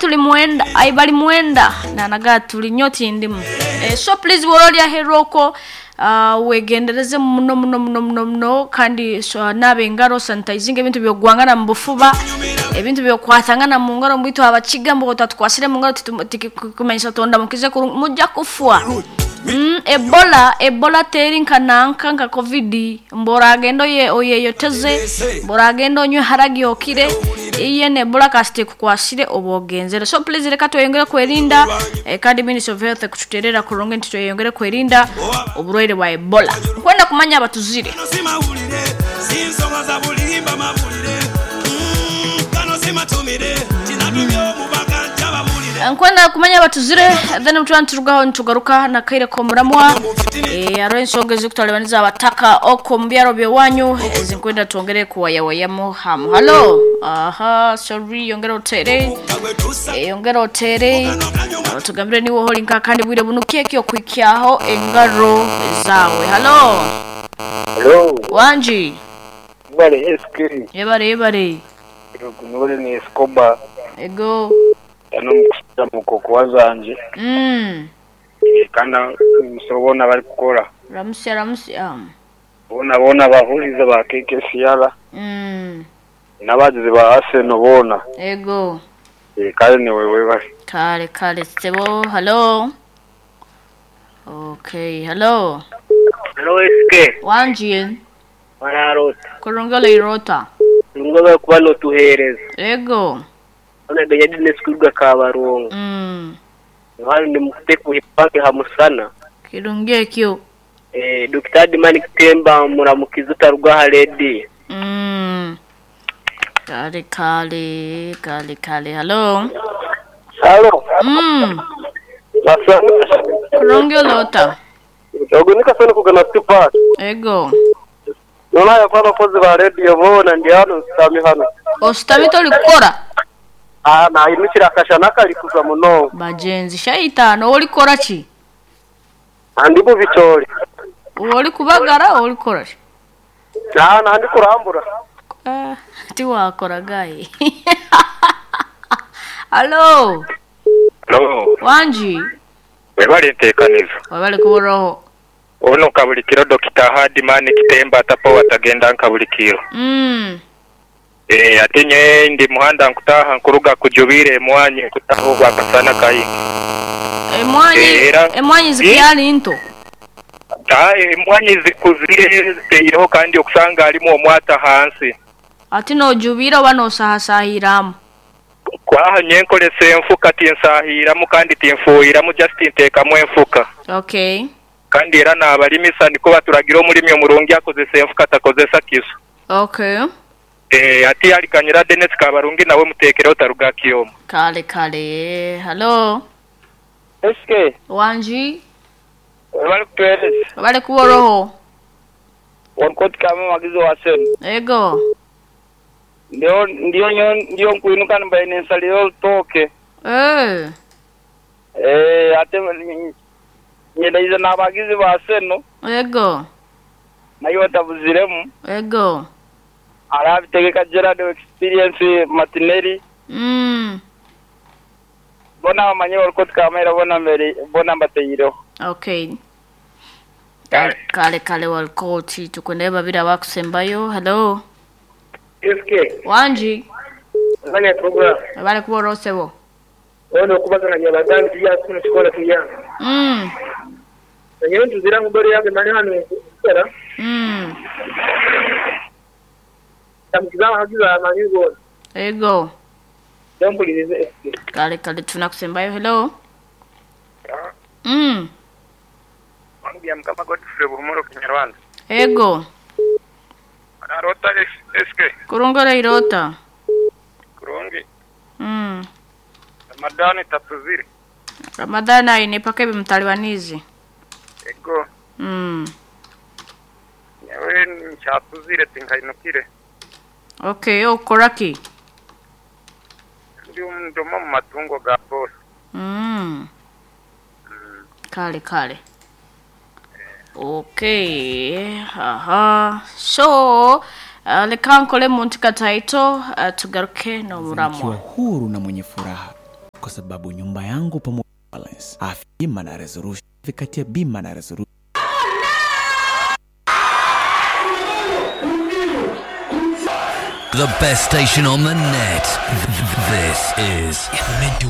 tuli mwenda ai bali mwenda nanaga tuli nyo tindimu eh, so please bw'oba oli aheeru okwo wegendereze muno muno muno muno muno kandi so, naaba engaro sanitizing ebintu byogwangana mu bufuba ebintu byokwatangana mu ngaro mbwitu abakiga mbu otatukwasire mu ngaro tikumanyisa tondamukize kurungi mujja kufwa. Ebola ebola teri nka nanka nka covid mbu oragenda oye oyeyoteze mbu oragenda onywe haragi okire iyene ebola kasita ekukwasire oba ogenzere. So please reka tweyongere kwerinda eh, kandi Ministry of Health ekututerera kurungi nti tweyongere kwerinda oburwaire bwa ebola. Nkwenda kumanya abatuzire. Nkwenda kumanya abatuzire then mutwana niturugaho nitugaruka nakaire komuramwa eh hariho ensonga ezikutalibaniza abataka oko mu byaro byewanyu ezinkwenda twongere kuwayawayamu hamu. Hello, aha, sorry, yongera otere yongera otere tugambire niwe holi nka kandi bwire bunu keki okwikyaho engaro zawe. Hello. Hello. Wanji. Bale SK. Yebare yebare. Nubale ni Escobar. Ego. Ano mukusita mukoko wazanje. Kandi musobona bari kukora. Ramusya ramusya. Bona bona bahuriza ba KKCR. N'abagizi ba Arsenal bona. Ego. Kale ni wewe bari. Kale kale sebo. Hello. Okay, hello. Hello SK. Wanji. Wararota. Kurungala irota. Ngoba kuba notuhereza. Ego. Ona ganya dine sikurwa kabarongo. Hano ndi mufite kuhipake hamusana. Kirungi ekyo. Dr. Dimani Kitemba muramukiza utarugwa haredi. Kale kale kale kale. Hello. Hello. Kurungi olota. Ogo nikasana kugana Tupac. Ego. Nona ya kwa abakozi ba radio bona ndi hano nsitami hano. Ositami tolikukora? Ah, nahindukira akashana kari kuza muno. Bagenzi shaitano olikora ki? Andi mu bitori. Oli kubagara olikora ki? Ah, nandi kurambura. Tiwakora gaye. Hello. Hello. Wanji. Webale nteekanizo. Webale kuboroho. Ono kabulikiro Dr. Hardman Kitemba atapo watagenda nkabulikiro. Ate nye ndi muhanda nkutaha nkuruga kujubire emwanyi nkutaha ogwakasana kayingi. Emwanyi emwanyi zikyali nto. Emwanyi zikuzire ziteireho kandi okusanga harimu omwata hansi. Ate nojubira oba nosahasahiramu? Kwaha nye nkoresa enfuka tinsahiramu kandi tinfuhiramu just nteekamu enfuka. Okay. Kandi era n'abalimisa niko baturagira omulimi omurungi akozesa enfuka atakozesa kiso. Okay. Ati alikanyira Dennis Kabarungi nawe mutekereho taruga Kiyoma. Kale kale. Hello. SK. Wanji. Webale kutuhereza. Webale kuboroho. Wankoti kama magizo wa senu. Ego. Ndio ndio nyo ndio nkuinuka mbaye nensalio toke. Ate nyendaiza n'abagizi ba seno. Ego. Nayo tabuziremu. Ego. Arabitegeka Gerard experience Martinelli. Bona bamanye bariko kamera bona mbere bona mbateyireho. Okay. Kale kale walkoti tukwende babiri abakusembayo. Hello. SK. Wanji. Nganya program. Abale kuba rosebo. Ono kubazana nyabagambi tuya kuno chikola tuya. Nyewe ntuzira ngubere yange mani hano kera. Tamkiza hagiza mani go. Ego. Ndampulirize SK. Kale kale tunakusembayo. Hello. Wangu mkama Godfrey Buhumuro Kinyarwanda. Ego. Arota SK. Kurungora irota. Kurungi. Ramadhani tatuzire. Ramadhani aine paka ebimtalibanizi. Ego. Nyewe nchatuzire tinkainukire. Okay, okoraki. Ndi ndoma mu matungo ga boss. Kale kale. Okay. Aha. So, leka nkole muntu kataito tugaruke no Nikiwa muramwa. huru na mwenye furaha. Kwa sababu nyumba yangu pamoja balance afya bima na resolution kati ya bima na resolution The best station on the net. This is Midway.